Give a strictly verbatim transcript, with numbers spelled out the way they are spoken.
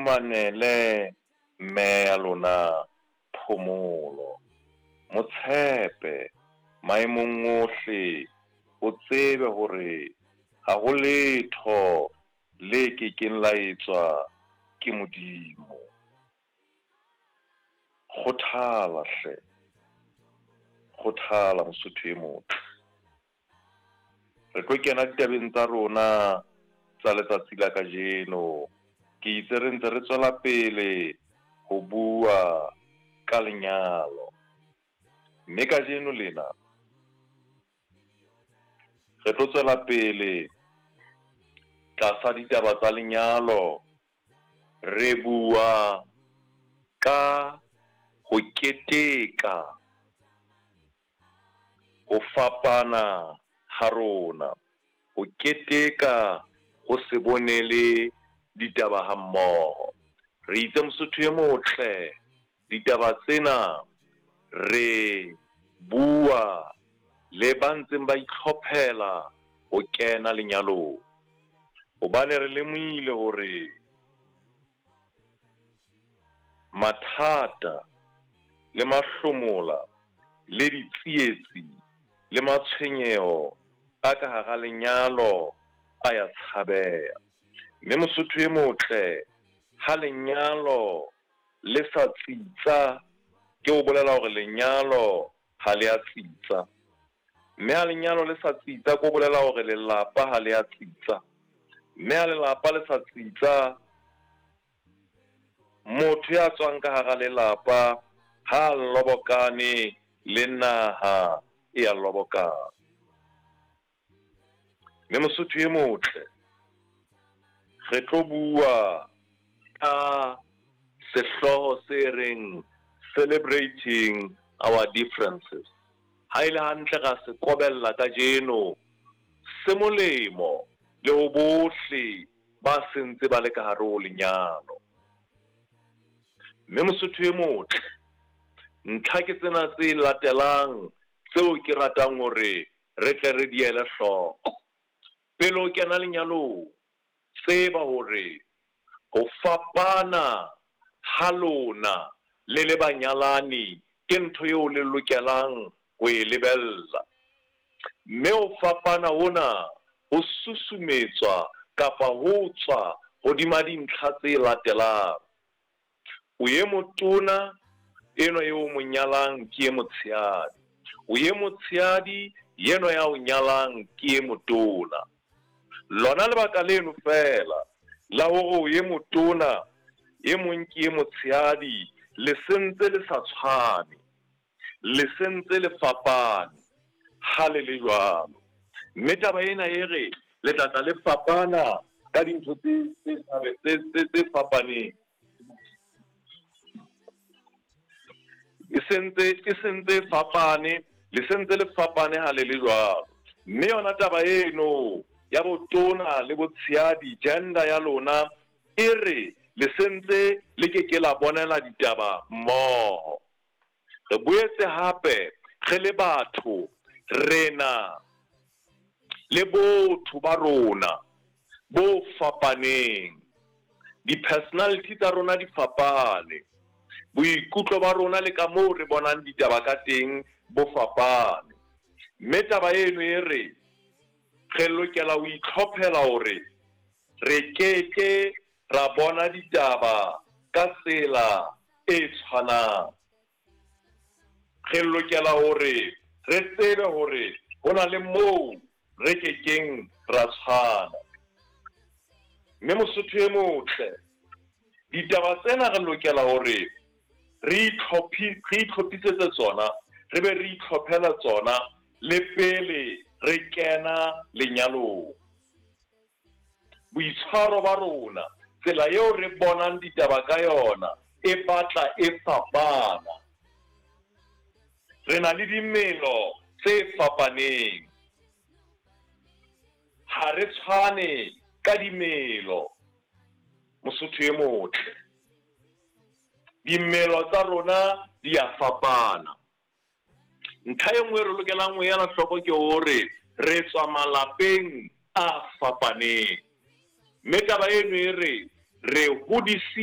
fumanele mme ya lona phomolo. Mo tshepe maemong ohle, o tsebe hore ha ho letho le ke keng la etswa ke Modimo. Kgothala hle, kgothala Mosotho e motle. Re tlo kena ditabeng tsa rona tsa letsatsi la kajeno. Ke itse re ntse re tswela pele ho bua ka lenyalo, mme kajeno lena re tlo tswela pele tlasa ditaba tsa lenyalo, re bua ka ho keteka ho fapana ha rona, ho keteka ho se bonele ditaba ha mmoho. Re itse Mosotho e motle, ditaba tsena re bua le ba ntseng ba itlhophela ho kena lenyalong, hobane re lemohile hore mathata le mahlomola le ditsietsi le matshwenyeho a ka hara lenyalo a ya tshabeha. Mme Mosotho e motle, ha lenyalo le sa tsitsa, ke ho bolela hore lenyalo ha le a tsitsa, mme ha lenyalo le sa tsitsa, ke ho bolela hore lelapa ha le a tsitsa, mme ha lelapa le sa tsitsa, motho ya tswang ka hara lelapa ha lobokane le naha e ya lobokana. Mme Mosotho e motle, re tlo bua ka sehlooho se reng celebrating our differences. Ha e le hantle ra se kobella kajeno, se molemo le ho bohle ba sentse ba le ka hare ho lenyalo. Mme Mosotho e motle, ntlha ke tsena tse latelang tseo ke ratang hore re tle re di ele hloko. Pele o kena lenyalong, tseba hore ho fapana ha lona le le banyalani ke ntho eo le lokelang ho e lebella. Mme ho fapana hona ho susumetswa kapa ho tswa hodima dintlha tse latelang. O ye motona, enwa eo o mo nyalang ke e motshehadi. O ye motshehadi, enwa ya o nyalang ke e motona. Lona lebaka leno feela la hore o ye motona, e mong ke e motshehadi, le sentse le sa tshwane, le sentse le fapane ha le le jwalo. Mme taba ena e re le tla tla le fapana ka dintho tse tse tse tse fapaneng. E sentse e sentse fapane, le sentse le fapane ha le le jwalo. Mme yona taba eno ya botona le botshehadi, gender ya lona e re le sentse le ke ke la bonela ditaba mmoho. Re boetse hape re le batho re na le botho ba rona bo fapaneng. Di-personality tsa rona di fapane, boikutlo ba rona le ka moo re bonang ditaba ka teng bo fapane. Mme taba eno e re re lokela ho itlhophela hore re keke ra bona ditaba ka tsela e tshwanang. Re lokela hore re tsebe hore ho na le moo re kekeng ra tshwana. Mme Mosotho e motle, ditaba tsena re lokela hore re itlhophi re itlhophisetse tsona, re be re itlhophela tsona le pele re kena lenyalong. Boitshwaro ba rona, tsela eo re bonang ditaba ka yona e batla e fapana. Re na le dimelo tse fapaneng, ha re tshwane ka dimelo. Mosotho e motle, dimelo tsa rona di a fapana. Ntlha e nngwe re lokelang ho ela hloko ke hore re tswa malapeng a fapaneng, mme taba eno e re re hodisitswe